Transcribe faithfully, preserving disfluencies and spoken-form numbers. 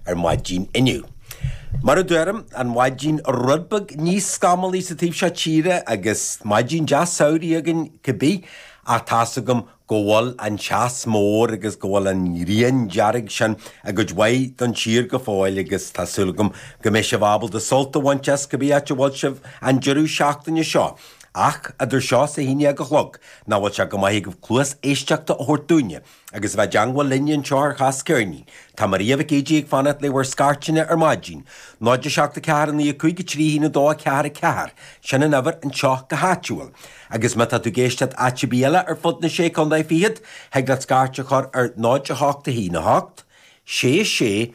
ar maidin inniu. Mar a deirim an mhaidin rud beag níos scamallaí sa taobh seo tíre agus maidin deas samhraidh againn cibé ach tá's agam go bhfuil an teas mór agus go bhfuil an ghrian dearg sin i gcuid mhaith don tír go fóill agus tá súil agam go mbeidh sibh ábalta sult a bhaint as cibé áit a bhfuil sibh an deireadh seachtaine seo. Ach idir seo is a haon déag a chlog nach bhfuil sé go maith agaibh cluas éisteachta a thabhairt dúinne, agus a bheith i dteangmháil linne anseo ar Chas Ceirnín. Tá Maria Mhic Éadaigh ag fanacht le bhur scairteanna ar maidin. náid a seacht a ceathair a naoi a cúig a trí haon a dó a ceathair a ceathair. Sin an uimhir anseo go háitiúil. Agus má tá tú ag éisteacht áit ar bith eile ar fud na sé contae fichead, thig leat scairt a chur ar náid a hocht a haon a hocht, sé sé